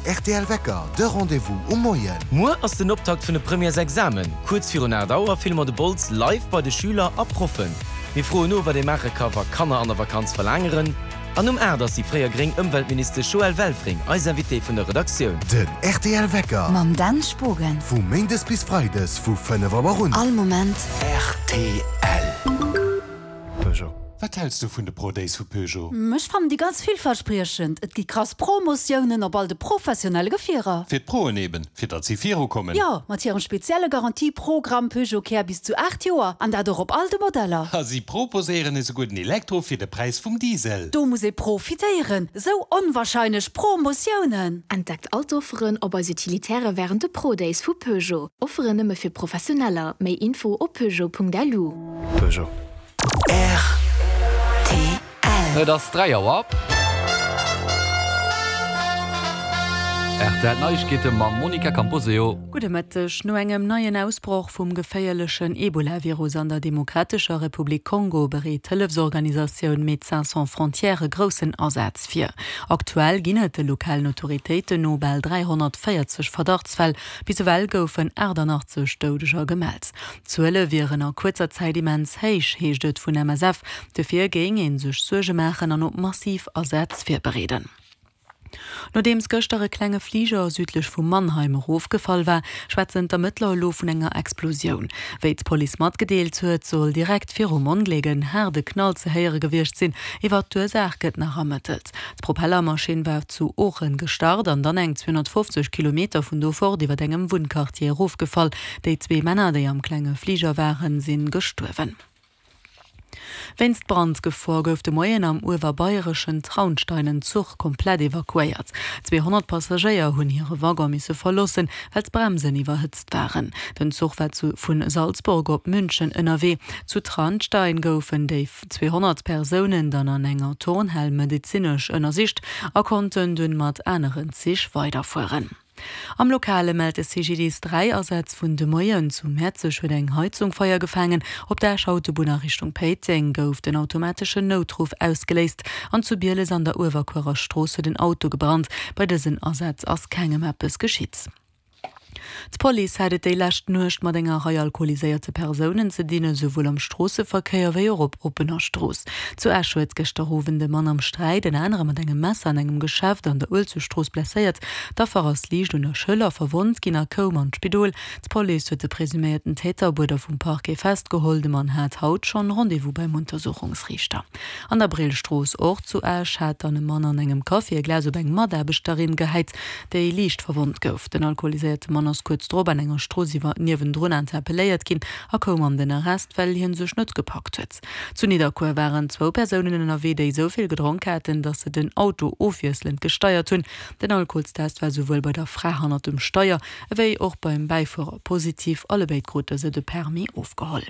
rtl Wecker, de Rendez-vous um Moien. Muer ass den Optakt vun de Premièresexamen. Kuerz virun 8 Auer filme mer de Bols live bei de Schüler a Proffen. Mir froen no, wat ee maache ka wa Kanner an der Vakanz verlaangeren. An um 8 ass déi fréier gréng Ëmweltministesch Joëlle Welfring eis Invitée vun der Redaktioun. Den rtl Wecker. Mam Dan Spogen. Vu Méindes bis Freides vu 5 Auer un. All Moment. Rtl. Peugeot. Wat häls du vun de Pro Days vu Peugeot? Ech fannen déi ganz villverspriechend. Et gi krass Promotiounen op all de professionelle Gefierer. Fir d'Proen eben, fir datt si viru kommen. Jo, mat hirem spezielle Garantie-Programm Peugeot Care bis zu 8 Joer, an dat och op all de Modeller. A si proposéieren esouguer den Elektro fir de Präis vum Diesel. Do muss ee profitéieren, esou onwahrscheinlech Promotiounen! Entdeckt all d'Offeren op eis Utilitaire wärend de Pro Days vu Peugeot. Offeren nëmme fir Professioneller. Méi Info op peugeot.lu. Peugeot. Rtl. Et ass 3 Auer. Rtl Neiegkeete mam Monica Camposeo. Gudde Mëtteg. No engem neien Ausbroch vum geféierlechen Ebola-Virus an der Demokratescher Republik Kongo bereet d'Hëllefsorganisatioun Médecins Sans Frontières e groussen Asaz vir. Aktuell ginn et de lokalen Autoritéiten no bal 340 Verdachtsfäll. Bis ewell goufen 88 Doudeger gemellt. D'Zuele wieren a kuerzer Zäit immens héich, heescht et vun MSF. Dofir géing ee sech Suerge maachen an op massiv Asätz virbereeden. Nodeems gëschter e klenge Fliger südlech vu Mannheim erofgefall war, schwätzen d'Ermëttler elo vun enger Explosioun. Wéi d'Police matgedeelt huet, soll direkt virum Ongléck en haarde Knall ze héiere gewiescht sinn. Iwwer d'Ursaach gëtt nach ermëttelt. D'Propellermaschinn war zu Oochen gestart an dann eng 250 Kilometer vun do fort iwwer engem Wunnquartier erofgefall. Déi zwee Männer, déi am klenge Fliger waren, si gestuerwen. Wéinst Brandgefor gouf de Moien am uewerbayreschen Traunstein en Zuch komplett evakuéiert. 200 Passagéier hunn hire Waggon misse verloossen, well d'Bremsen iwwerhëtzt waren. Den Zuch war zu vu Salzburg op München ënnerwee. Zu Traunstein goufen déi 200 Persounen dann an enger Turnhal medezinesch ënnersicht a konnten dunn mat aneren Zich weiderfueren. Am Lokale mellt de CGDIS 3 Asätz vun de Moien. Zu Mäerzeg huet eng Heizung Feier gefaangen. Op der Escher Autobunn a Richtung Péiteng gouf den automateschen Noutruff ausgeléist an zu Bieles an der Uewerkuerer Strooss huet en Auto gebrannt. Bei dësen Asätz ass kengem eppes geschitt. D'Police hat et déi lescht Nuecht mat enger Rei alkoholiséierte Persounen ze dinn, esouwuel am Stroosseverkéier wéi och op oppener Strooss. Zu Esch huet gëschter Owend e Mann am Sträit en anere mat engem Messer an engem Geschäft an der Uelzechtstrooss blesséiert. D'Affer ass liicht un der Schëller verwonnt ginn a koum an d'Spidol. D'Police huet de presuméierten Täter op Uerder vum Parquet festgeholl. De Mann hat haut schonn Rendez-vous beim Untersuchungsriichter. An der Brillstrooss, och zu Esch, hat dann e Mann an engem Café e Glas op eng Mataarbechterin gehäit, déi liicht verwonnt gouf. Den alkoholiséierte Mann ass kuerz drop an enger Strooss iwwer niewendrun interpelléiert ginn a koum an den Arrest, well hie sech net gepackt huet. Zu Nidderkuer waren zwou Persounen ënnerwee, déi esou vill gedronk haten, datt se den Auto ofwiesselend gesteiert hunn. Den Alkoholstest war souwuel bei der Fra hannert dem Steier ewéi och beim Bäifuerer positiv. Allebéid krute se de Permis ofgeholl.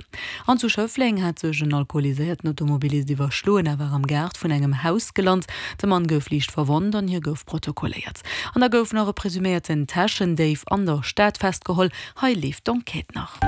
An zu Schëffleng hat sech en alkoholiséierten Automobilist iwwerschloen a war am Gaart vun engem Haus gelant. De Mann gouf liicht verwonnt an hie gouf protokolléiert. An da gouf nach e presuméierten Täschendéif an der Stad festgeholl. Hei leeft d'Enquête nach.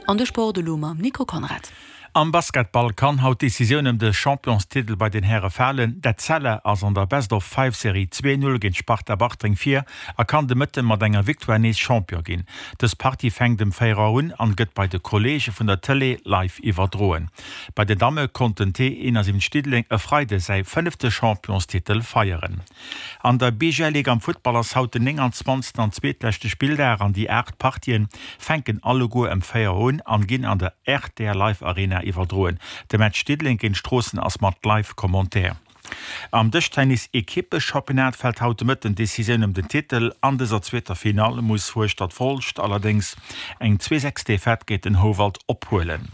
An de Sport elo mam Nico Conrad. Am Basketball kann haut d'Decisioun ëm de Championstitel bei den Häre falen. D'Etzella ass an der Best-of-Five-Serie 2, 0 géint d'Sparta Bartreng vir a kann de Mëtte mat enger Victoire nees Champion ginn. Dës Partie fänkt ëm 4 Auer un an gëtt bei de Kolleege vun der Tëlee live iwwerdroen. Bei den Damme konnt den T71 Diddeleng e Freide säi fënnefte Championstitel feieren. An der BGL Ligue am Futtball ass haut den 29. An zweetleschte Spilldag an déi 8 Partien fänken alleguer ëm 4 Auer un an ginn an der rtl Live Arena iwwerdroen. De Match Diddeleng géint Stroossen ass mat Live Commentaire. Am Dëschtennis Equippeschampionnat fält haut de Mëtten d'Decisioun ëm den Titel. An dëser zweeter Finall muss Hueschtert-Folscht allerdéngs eng 2, 6 Defaite géint den Houwald ophuelen.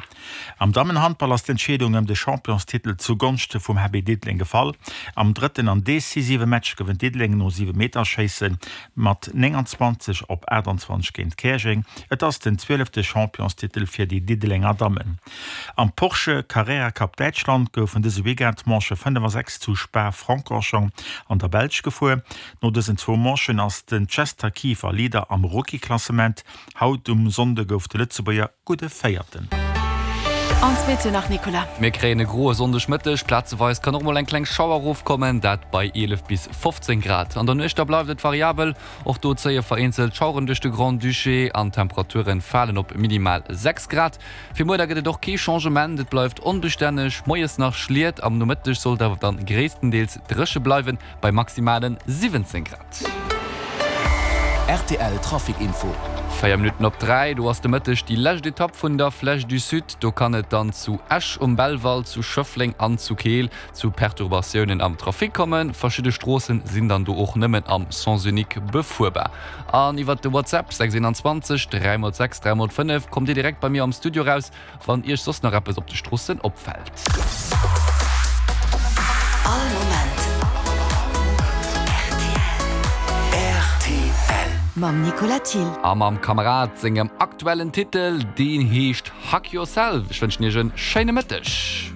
Am Dammenhandball ass d'Entscheedung ëm de Championstitel zu Gonschte vum HB Diddeleng gefall. Am drëtten an decisive Match gewënnt Diddeleng no Siwemeterschéisse mat 29 op 28 géint Käerjeng. Et ass den zwielefte Championstitel fir déi Diddelenger Dammen. Am Porsche Carrera Cup Däitschland goufen dëse Weekend d'Manche 5 a 6 zu Spa-Francorchamps an der Belsch gefuer. No dësen zwou Manchen ass den Chester Kieffer Leader am Rookie-Klassement. Haut um Sonnde gouf de Lëtzebuerger gudde Véierten. An d'Meteo nach, Nicolas. Mir kréien e groe Sonndegmëtteg, plazeweis kann och mol eng kleng Schauer erofkommen, dat bei 11 bis 15 Grad. An der Nuecht da bleift et variabel, och do zéie vereenzelt Schaueren duerch de Grand-Duché an d'Temperature falen op minimal 6 Grad. Fir muer da gëtt et och kee Changement, et bleift onbestänneg, moies nach Schliet, am Nomëtteg soll et awer dann gréisstendeels dréche bleiwen bei maximale 17 Grad. Rtl Trafic Info. 4 Minutten op 3, do ass de Mëtteg déi lescht Etapp vun der Flèche du Sud. Do kann et dann zu Esch um Belval, zu Schëffleng an zu Keel zu Perturbatiounen am Trafic kommen. Verschidde Stroossen sinn dann do och nëmmen am Sens unique befuerbar. An iwwert de WhatsApp 621 3 x 6 3 x 5 kommt Dir direkt bei mir am Studio raus, Wann Iech soss nach eppes op de Stroossen opfält. All Moment rtl. Mam Nicolas Thill. A mam Kamerad sengem aktuellen Titel, deen heescht Hug Yourself. Ech wënschen Iech en schéine Mëtteg.